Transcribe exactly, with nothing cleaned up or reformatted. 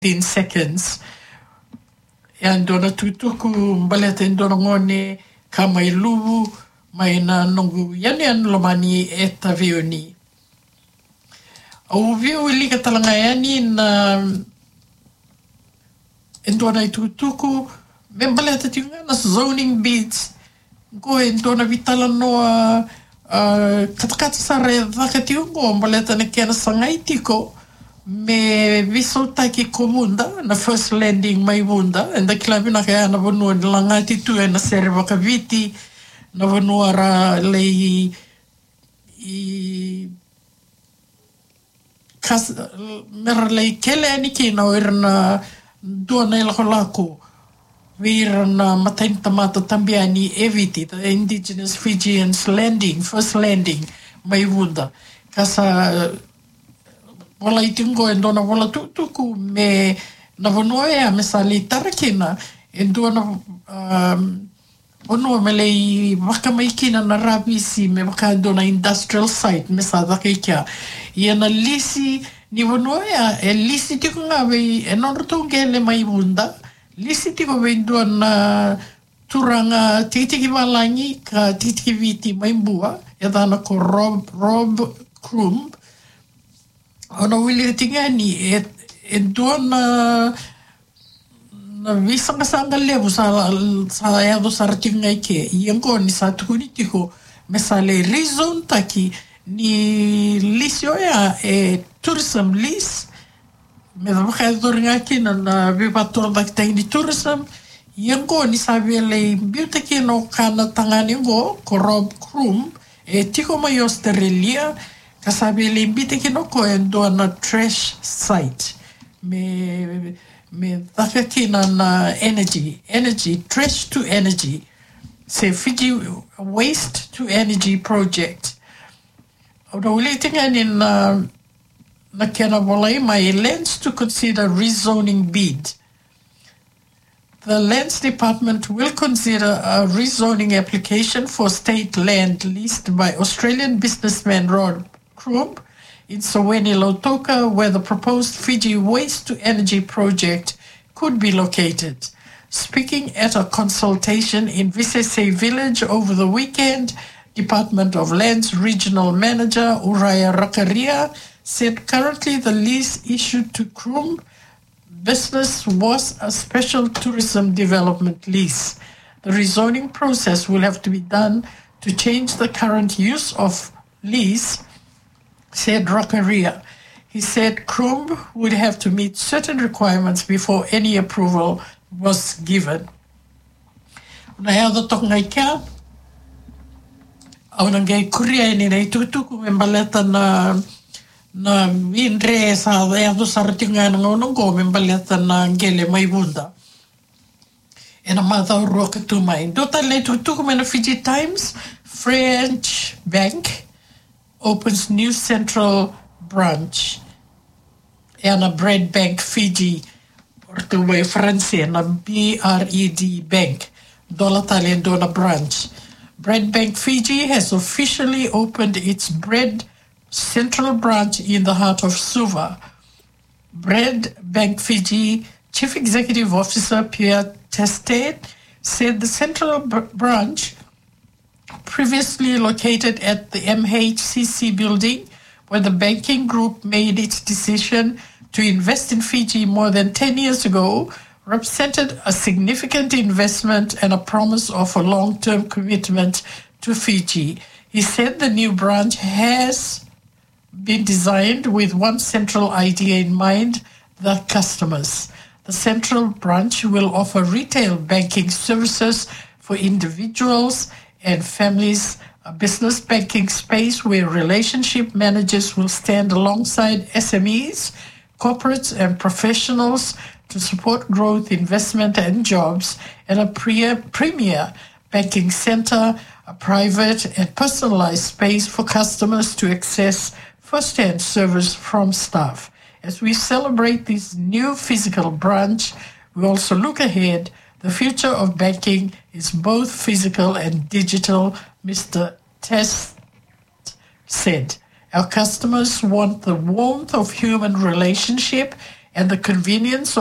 fifteen seconds. E dua na tukutuku baleta e dua na gone ka mai Luvu, mai na noqu yanuyanu lomani e Taveuni. Au via wilika tale ga yani na e dua na itukutuku me baleta tiko ga na zoning bids. Qo e dua na veitalanoa, ah, katakata sara e caka tiko qo baleta na kena sagai tiko me veisautaki ko Vuda, na First Landing mai Vuda. Eda kila vinaka ya na vanua ni lagati tu ena sere vakaviti, na vanua ra lai i kas, mera lai kele yani kina o ira na dua na ilakolako vei ira na matai ni tamata tabu yani e Viti, the Indigenous Fijians Landing, First Landing, mai Vuda. Ka sa volai tiko qo e dua na vola tukutuku me na vanua ya me sa lai tara kina e dua na, um, vanua me lai vakamai kina na ravisi me vaka e dua na industrial site me sa caka i kea. Ia na lisi ni vanua ya e lisi tiko ga vei e nodratou qele mai Vuda, lisi tiko vei dua na turaga tikitiki valagi ka tikitiki Viti mai Bua, e yacana ko Rob, Rob Croom. Au na wilika tiko yani e, e dua na na veisaqasaqa levu sa, sa yaco sara tiko ga i ke. Ia qo ni sa tukuni tiko me sa lai rezone taki ni lisi oya e tourism lease, me vakayacori ga kina na veivakatorocaketaki ni tourism. Ia qo ni sa via lai biuta kina o ka na tagane qo ko Rob Croom, e tiko mai Australia, ka sa via lai biuta kina o koya e dua na trash site me me caka kina na energy, energy, trash to energy, se Fiji waste to energy project. Au na wilika tiko yani na, na kena volai mai, Lands to consider rezoning bid. The Lands Department will consider a rezoning application for state land leased by Australian businessman Rob Croom in Soweni, Lautoka, where the proposed Fiji waste to energy project could be located. Speaking at a consultation in Visese village over the weekend, Department of Lands Regional Manager Uraya Rakaria said currently the lease issued to Croom business was a special tourism development lease. The rezoning process will have to be done to change the current use of lease, said Rakaria. He said Croom would have to meet certain requirements before any approval was given. Na yaco toka ga i kea, au na qai kuria yani na itukutuku me baleta na, na vidre sa yaco sara tiko ga ena gauna qo me baleta na qele mai Vuda ena macawa rua ka tu mai. Dua tale na itukutuku mai na Fiji Times, French bank opens new central branch. Ena Bread Bank Fiji, o ratou mai France, na B R E D Bank, dola tale e dua na branch. Bread Bank Fiji has officially opened its Bread Central branch in the heart of Suva. Bread Bank Fiji Chief Executive Officer Pierre Teste said the central br-, branch, previously located at the M H C C building, where the banking group made its decision to invest in Fiji more than ten years ago, represented a significant investment and a promise of a long-term commitment to Fiji. He said the new branch has been designed with one central idea in mind, the customers. The central branch will offer retail banking services for individuals and families, a business banking space where relationship managers will stand alongside S M Es, corporates and professionals to support growth, investment and jobs, and a pre-, premier banking center, a private and personalized space for customers to access first-hand service from staff. As we celebrate this new physical branch, we also look ahead. The future of banking is both physical and digital, Mister Test said. Our customers want the warmth of human relationship and the convenience